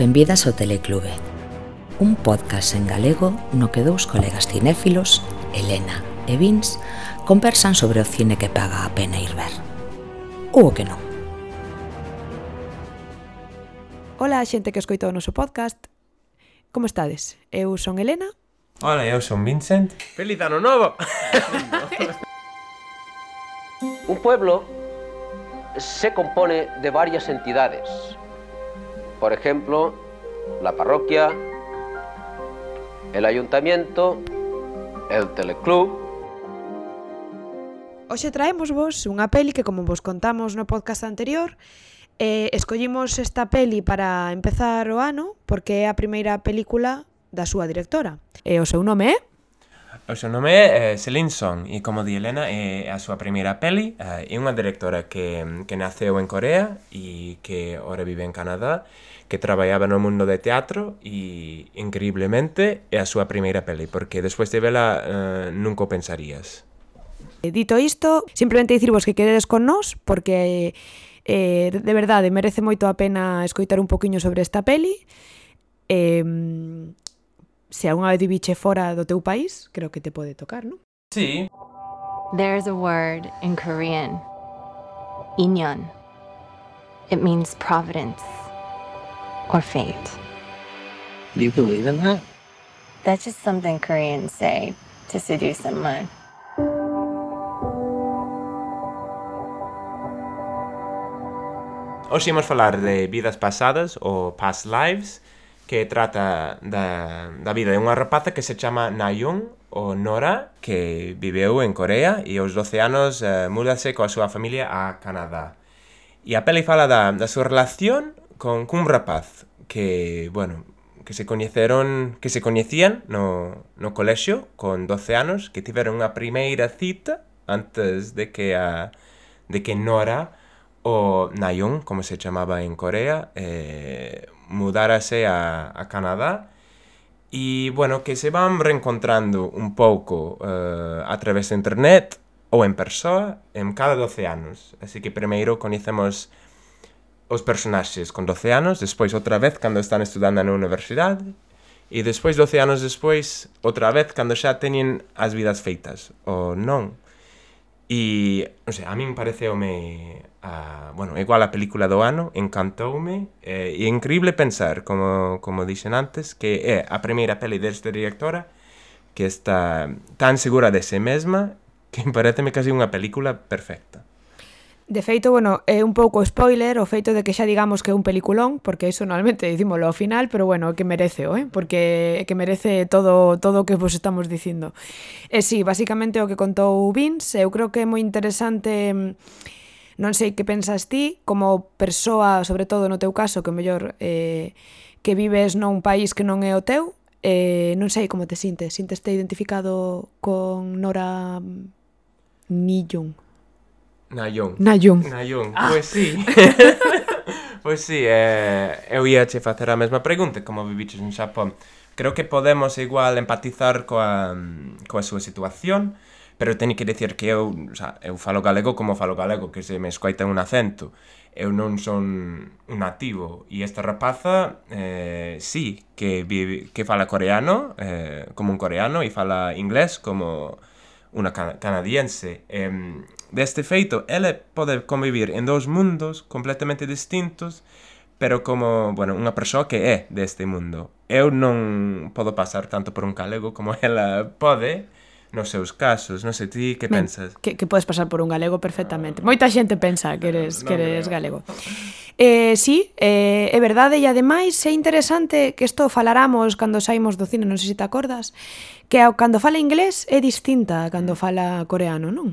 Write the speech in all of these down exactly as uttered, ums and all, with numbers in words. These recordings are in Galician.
Benvidas ao Teleclube, un podcast en galego no que dous colegas cinéfilos, Elena e Vince, conversan sobre o cine que paga a pena ir ver. Ou o que non. Ola, xente que escoita o noso podcast. Como estades? Eu son Elena. Ola, eu son Vincent. ¡Feliz ano novo! Un pueblo se compone de varias entidades. Por ejemplo, la parroquia, el ayuntamiento, el teleclub. Hoxe traemos vos unha peli que, como vos contamos no podcast anterior, eh, escollimos esta peli para empezar o ano porque é a primeira película da súa directora. E o seu nome é? O seu nome é eh, Celine Song e, como di Elena, é a súa primeira peli. Eh, é unha directora que, que naceu en Corea e que ora vive en Canadá, que traballaba no mundo de teatro e, increíblemente, é a súa primeira peli, porque despois de vela eh, nunca o pensarías. Dito isto, simplemente dicirvos que quededes con nós, porque eh, de verdade merece moito a pena escoitar un poquinho sobre esta peli. Eh, se algunha vez viviche fora do teu país, creo que te pode tocar, non? Sí. There's a word in Korean, inyeon. It means providence or fate. Do you believe in that? That's just something Koreans say to seduce someone. Hoxe imos falar de Vidas Pasadas, ou Past Lives, que trata da, da vida de unha rapaza que se chama Na-young, ou Nora, que viveu en Corea e aos doce anos eh, múdase coa súa familia a Canadá. E a peli fala da, da súa relación con cun rapaz que, bueno, que se coñeceron, que se coñecían no, no colexio con doce anos, que tiveron unha primeira cita antes de que a de que Nora, o Na-young, como se chamaba en Corea, eh, mudárase a, a Canadá e, bueno, que se van reencontrando un pouco eh, a través de internet ou en persoa en cada doce anos. Así que primeiro coñecemos os personaxes con doce anos, despois outra vez cando están estudando na universidade e despois doce anos despois outra vez cando xa teñen as vidas feitas, ou non. E, non sei, a min pareceume a, bueno, igual a película do ano, encantoume, eh, e é increíble pensar, como, como dixen antes, que é a primeira peli desta directora que está tan segura de si mesma que pareceme casi unha película perfecta. De feito, bueno, é un pouco spoiler o feito de que xa digamos que é un peliculón, porque iso normalmente dicímolo ao final, pero bueno, que merece, eh? Porque que merece todo todo o que vos estamos dicindo. E si, sí, basicamente o que contou Vince, eu creo que é moi interesante, non sei que pensas ti, como persoa, sobre todo no teu caso, que mellor eh, que vives nun país que non é o teu, eh, non sei como te sintes, sinteste identificado con Nora Na-young? Na-young. Na-young. Na-young, ah. Pois sí. Pois sí, eh, eu ia che facer a mesma pregunta, como viviches en Xapón. Creo que podemos igual empatizar coa, coa súa situación, pero teño que dicir que eu, o sea, eu falo galego como falo galego, que se me escoita un acento. Eu non son un nativo, e esta rapaza, eh, sí, que, vive, que fala coreano, eh, como un coreano, e fala inglés como unha canadiense. Eh, deste feito, ela pode convivir en dous mundos completamente distintos, pero como, bueno, unha persoa que é deste mundo. Eu non podo pasar tanto por un galego como ela pode nos seus casos. Non sei, ti que pensas? Que, que podes pasar por un galego perfectamente. Moita xente pensa que eres, que eres galego. Eh, sí, eh, é verdade, e ademais é interesante que isto falaramos cando saímos do cine, non sei se te acordas, que cando fala inglés é distinta a cando fala coreano, non?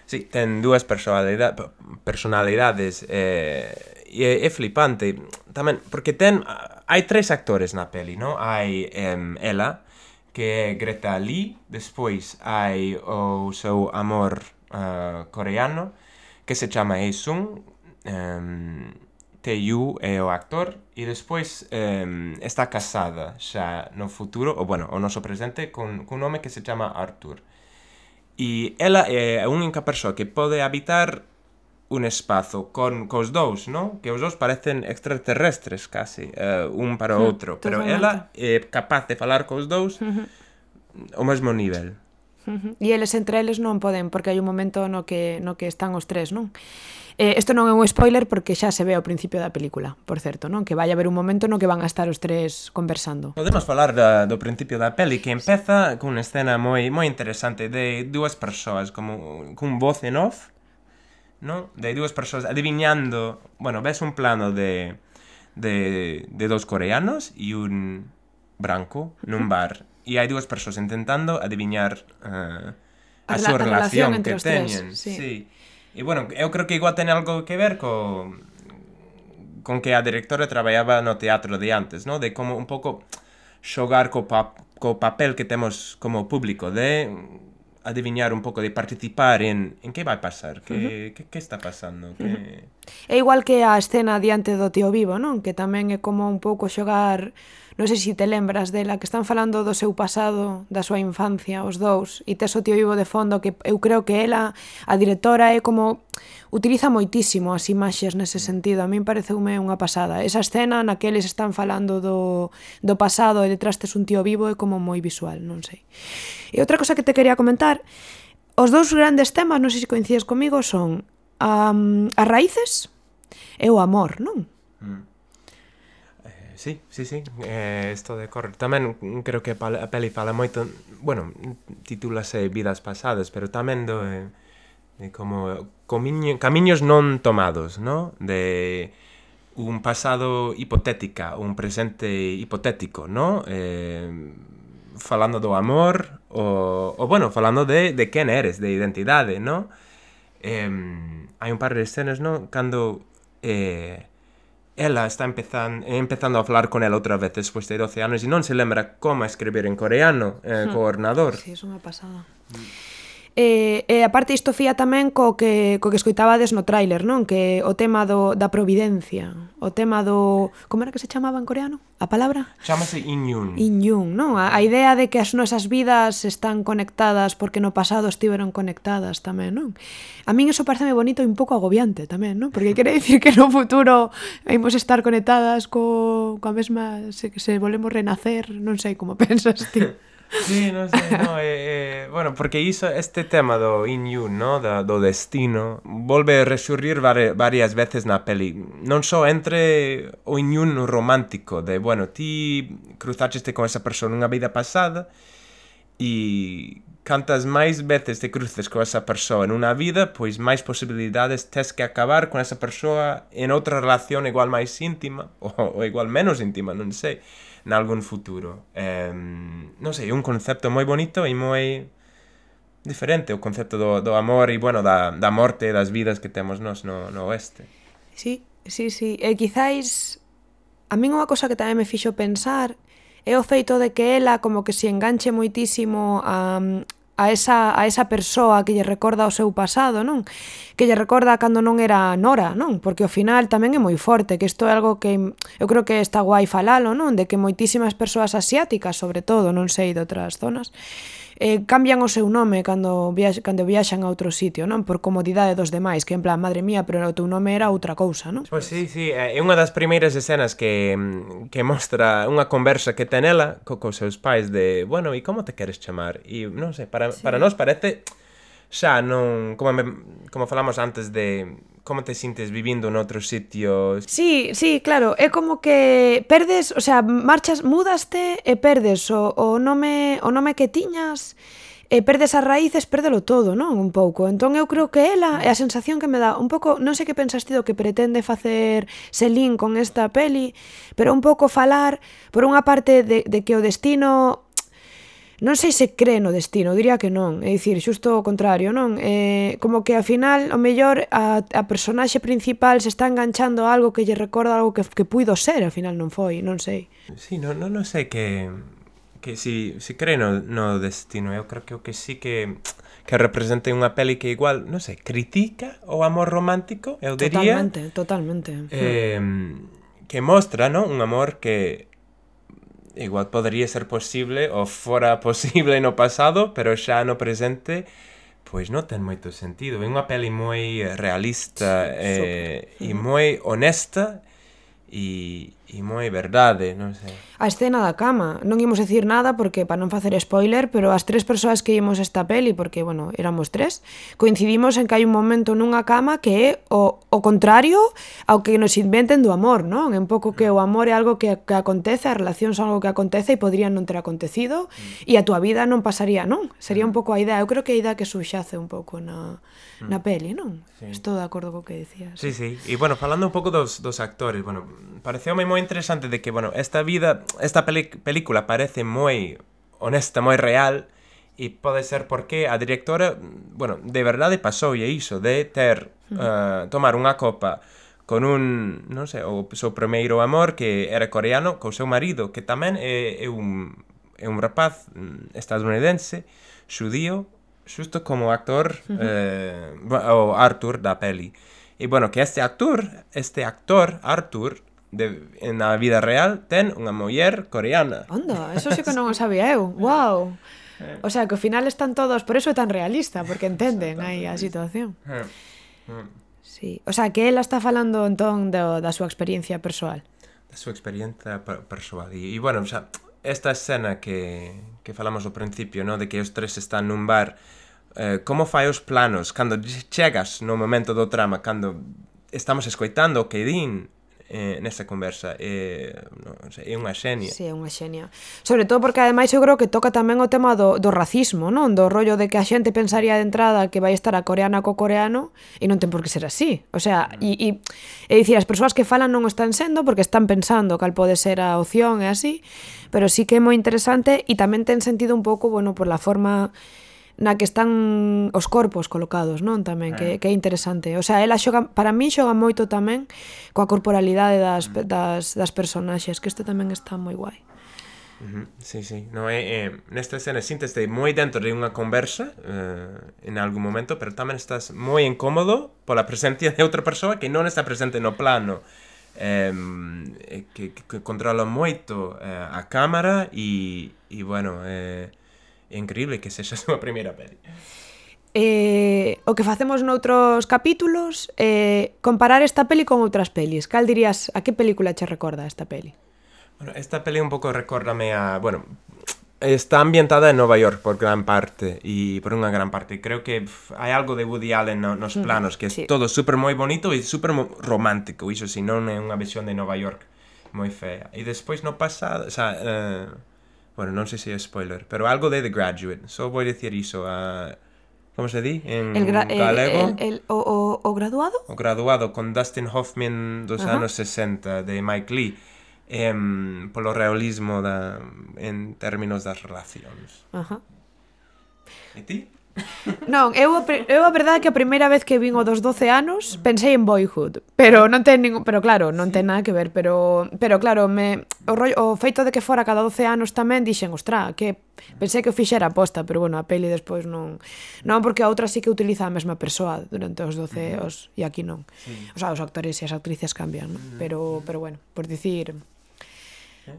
Sí, ten dúas personalidades, personalidades eh, e é, é flipante tamén, porque ten, hai tres actores na peli, non? Hai eh, ela, que é Greta Lee, despois hai o seu amor uh, coreano, que se chama Hae-sung, um, Tae-yu é o actor, e despois um, está casada xa no futuro, ou bueno, o noso presente, con, con un home que se chama Arthur. E ela é a única persoa que pode habitar un espazo con cos dous, non? Que os dous parecen extraterrestres casi, uh, un para o outro, pero ela é capaz de falar cos dous uh-huh. ao mesmo nivel. Uh-huh. E eles entre eles non poden, porque hai un momento no que, no que están os tres, non? Eh, isto non é un spoiler porque xa se ve ao principio da película, por certo, non? Que vai haber un momento no que van a estar os tres conversando. Podemos falar da, do principio da peli, que empeza con unha escena moi moi interesante de dúas persoas, como cun voz en off, ¿no? De dúas persoas adivinando, bueno, ves un plano de, de, de dos coreanos e un branco nun bar, e hai dúas persoas intentando adivinar uh, a, a súa relación, relación que teñen. Tres, sí. Sí. E, bueno, eu creo que igual ten algo que ver co, con que a directora traballaba no teatro de antes, ¿no? De como un pouco xogar co, pa, co papel que temos como público, de adivinar un pouco, de participar en, en que vai pasar, que, uh-huh. que, que está pasando. Que... Uh-huh. É igual que a escena diante do tío vivo, non? Que tamén é como un pouco xogar, non sei se te lembras dela, que están falando do seu pasado, da súa infancia, os dous, e tes o tío vivo de fondo, que eu creo que ela, a directora, é como... utiliza moitísimo as imaxes nese sentido. A min pareceume unha pasada. Esa escena na que eles están falando do, do pasado e detrás tes un tío vivo é como moi visual, non sei. E outra cosa que te quería comentar, os dous grandes temas, non sei se coincides comigo, son um, as raíces e o amor, non? Mm. Eh, sí, sí, sí, eh, esto de correr. Tamén creo que a peli fala moito, bueno, titúlase Vidas Pasadas, pero tamén do... Eh, como comiño, camiños non tomados, ¿no? De un pasado hipotética, un presente hipotético, ¿no? Eh, falando do amor, o, o bueno, falando de, de quen eres, de identidade, ¿no? Eh, hai un par de escenas, ¿no? Cando eh, ela está empezando, empezando a falar con ela outra vez despois de doce anos e non se lembra como escribir en coreano eh, hmm. co ordenador. Sí, é unha pasada. Mm. E, e aparte isto fía tamén co que, co que escoitabades no tráiler, non? Que o tema do, da providencia, o tema do... Como era que se chamaba en coreano? A palabra? Chámase Inyun. Inyun, non? A, a idea de que as nosas vidas están conectadas porque no pasado estiveron conectadas tamén, non? A min eso pareceme bonito e un pouco agobiante tamén, non? Porque quere dicir que no futuro imos estar conectadas co, coa mesma... Se, se volvemos renacer, non sei como pensas ti. Sí, non sei, no, eh, eh, bueno, porque iso, este tema do Inyun, no, da, do destino, volve a resurrir vari, varias veces na peli, non só entre o Inyun romántico, de, bueno, ti cruzaste con esa persona unha vida pasada, e cantas máis veces te cruces con esa persoa en unha vida, pois máis posibilidades tes que acabar con esa persoa en outra relación igual máis íntima, ou, ou igual menos íntima, non sei, en algún futuro. Eh, non sei, un concepto moi bonito e moi diferente, o concepto do, do amor e, bueno, da, da morte e das vidas que temos nós no, no oeste. Sí, sí, sí. E quizáis, a min unha cosa que tamén me fixo pensar é o feito de que ela como que se enganche moitísimo a, a, esa, a esa persoa que lle recorda o seu pasado, non? Que lle recorda cando non era nora, non? Porque ao final tamén é moi forte, que isto é algo que eu creo que está guai falalo, non? De que moitísimas persoas asiáticas, sobre todo, non sei de outras zonas, eh, cambian o seu nome cando, viax, cando viaxan a outro sitio, non? Por comodidade dos demais, que en plan, madre mía, pero o teu nome era outra cousa, non? Pois sí, sí, é unha das primeiras escenas que, que mostra unha conversa que ten ela co, cos seus pais de, bueno, e como te queres chamar? E non sei, para, sí. para nós parece xa non, como, me, como falamos antes de como te sintes vivindo noutro sitio. Sí, sí, claro, é como que perdes, o sea, marchas, mudaste e perdes o, o nome o nome que tiñas, e perdes as raíces, pérdelo todo, non? Un pouco. Entón eu creo que ela é a sensación que me dá un pouco, non sei que pensas ti do que pretende facer Celine con esta peli, pero un pouco falar por unha parte de, de que o destino... Non sei se cree no destino, diría que non, é dicir, xusto o contrario, non? Eh, como que ao final, o mellor, a, a personaxe principal se está enganchando a algo que lle recorda algo que, que puido ser, ao final non foi, non sei. Sí, non, non, non sei que, que si, si cree no, no destino, eu creo que o que sí que, que representa unha peli que igual, non sei, critica o amor romántico, eu diría. Totalmente, totalmente. Eh, que mostra, non? Un amor que... igual podría ser posible ou fora posible no pasado, pero xa no presente Pois non ten moito sentido. É unha peli moi realista eh, e moi honesta e, e moi verdade, non sei. A escena da cama, non imos decir nada porque para non facer spoiler, pero as tres persoas que imos esta peli, porque, bueno, éramos tres, coincidimos en que hai un momento nunha cama que é o, o contrario ao que nos inventen do amor, non? En pouco que o amor é algo que, que acontece, a relación son algo que acontece e podrían non ter acontecido e a túa vida non pasaría, non? Sería un pouco a idea, eu creo que a idea que subxace un pouco na, na peli, non? Sí. Estou de acordo co que decías. Sí, sí, e, bueno, falando un pouco dos, dos actores, bueno, pareceume moi interesante de que, bueno, esta vida, esta peli, película parece moi honesta, moi real, e pode ser porque a directora, bueno, de verdade pasou e iso, de ter, uh, tomar unha copa con un, non sei, o seu primeiro amor, que era coreano, co seu marido, que tamén é, é, un, é un rapaz estadounidense, xudío, xusto como actor, uh-huh. eh, o Arthur da peli. E, bueno, que este actor, este actor, Arthur, de, na vida real, ten unha muller coreana. Onda, eso sí que non o sabía eu. Wow. O sea, que ao final están todos, por eso é tan realista, porque entenden aí a situación. Sí. O sea, que ela está falando entón do, da súa experiencia persoal. Da súa experiencia per persoal. E, e, bueno, o sea, esta escena que, que falamos ao principio, ¿no? De que os tres están nun bar, eh, como fai os planos cando chegas no momento do trama, cando estamos escoitando o que din eh, nesta conversa, eh, non sei, é unha xenia. Sí, é unha xenia. Sobre todo porque ademais eu creo que toca tamén o tema do, do racismo, non? Do rollo de que a xente pensaría de entrada que vai estar a coreana co coreano e non ten por que ser así. O sea, e, e, é dicir, as persoas que falan non o están sendo porque están pensando cal pode ser a opción e así, pero sí que é moi interesante e tamén ten sentido un pouco, bueno, por la forma na que están os corpos colocados, non? Tamén, que, que é interesante. O sea, ela xoga, para mí xoga moito tamén coa corporalidade das, das, das personaxes, que isto tamén está moi guai. Uh-huh. Sí, sí. No, é, é, nesta escena sínteste moi dentro de unha conversa eh, en algún momento, pero tamén estás moi incómodo pola presencia de outra persoa que non está presente no plano. Eh, que, que controla moito eh, a cámara e, e bueno, eh, é increíble que sexa a súa primeira peli. Eh, o que facemos noutros capítulos é eh, comparar esta peli con outras pelis. Cal dirías, a que película che recorda esta peli? Bueno, esta peli un pouco recórdame a... Bueno, está ambientada en Nova York por gran parte e por unha gran parte. Creo que pff, hai algo de Woody Allen no, nos planos, que é sí. Todo super moi bonito e super romántico. Iso si non é unha visión de Nova York moi fea. E despois no pasado... O sea, uh, bueno, non sei se é spoiler, pero algo de The Graduate. Só vou dicir iso a... Como se di? En el galego. El, el, el, o, o, o graduado? O graduado, con Dustin Hoffman dos uh-huh. anos sesenta, de Mike Lee. Eh, polo realismo da, en términos das relacións. Uh-huh. E ti? Non, eu, eu a verdade que a primeira vez que vin o dos doce anos pensei en Boyhood, pero non ten ningún, pero claro, non ten nada que ver, pero pero claro, me o, rollo, o feito de que fora cada doce anos tamén dixen, ostra, que pensei que o fixera aposta, pero bueno, a peli despois non, non porque a outra sí que utiliza a mesma persoa durante os doce os e aquí non. Sí. O sea, os actores e as actrices cambian, non? Pero pero bueno, por dicir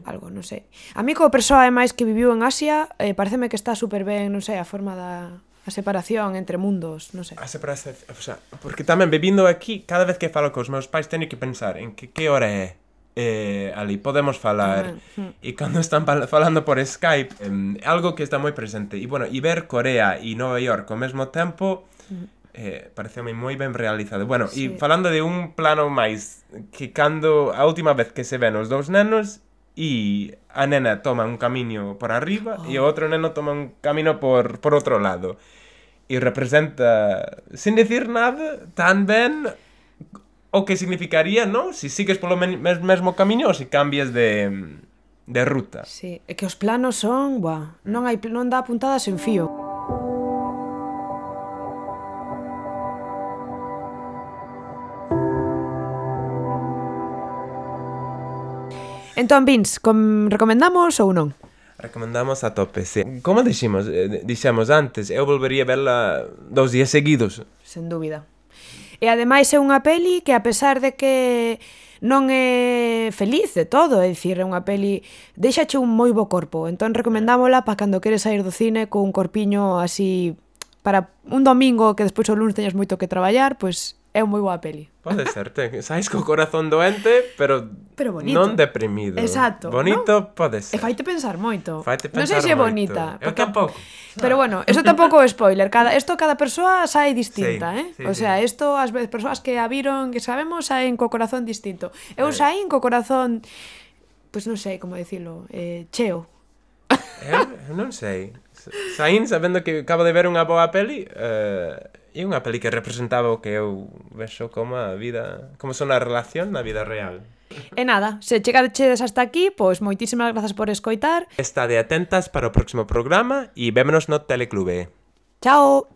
algo, non sei. A mí como persoa ademais que viviu en Asia, eh, pareceme que está super ben, non sei, a forma da a separación entre mundos, non sei. A separación, o sea, porque tamén vivindo aquí, cada vez que falo cos meus pais teño que pensar en que que hora é eh, ali, podemos falar. Uh-huh. E cando están falando por Skype, eh, algo que está moi presente. E bueno, e ver Corea e Nova York ao mesmo tempo, uh-huh. eh, pareceu moi ben realizado. Bueno, sí. E falando de un plano máis, que cando a última vez que se ven os dous nenos, e a nena toma un camiño por arriba oh. e o outro neno toma un camino por, por outro lado e representa, sin decir nada, tan ben o que significaría, non? Si sigues polo mesmo camiño ou si cambias de, de ruta. Sí, é que os planos son, buah, non hai non dá puntadas en fío. Entón, Vince, com, recomendamos ou non? Recomendamos a tope, sí. Como dixemos, dixemos antes, eu volvería verla dous días seguidos. Sen dúbida. E ademais é unha peli que, a pesar de que non é feliz de todo, é dicir, é unha peli deixache un moi bo corpo, entón recomendámola para cando queres sair do cine con un corpiño así para un domingo que despois o lunes teñas moito que traballar, pois é unha moi boa peli. Pode ser, te, sais co corazón doente, pero, pero bonito. Non deprimido. Exacto. Bonito ¿no? pode ser. E faite pensar moito. Faite Non pensar sei se é moito. bonita. Eu tampouco. Pero bueno, eso tampouco é spoiler. Cada, esto cada persoa sae distinta, sí, eh? sí, o sea, isto as veces persoas que a viron, que sabemos, saen co corazón distinto. Eu eh. saín co corazón, pois pues non sei como dicilo, eh, cheo. Eu, eu non sei. Saín sabendo que acabo de ver unha boa peli, eh, e unha peli que representaba o que eu vexo como a vida, como son a relación na vida real. E nada, se chegadeches hasta aquí, pois moitísimas grazas por escoitar. Estade atentas para o próximo programa e vémonos no Teleclube. Chao.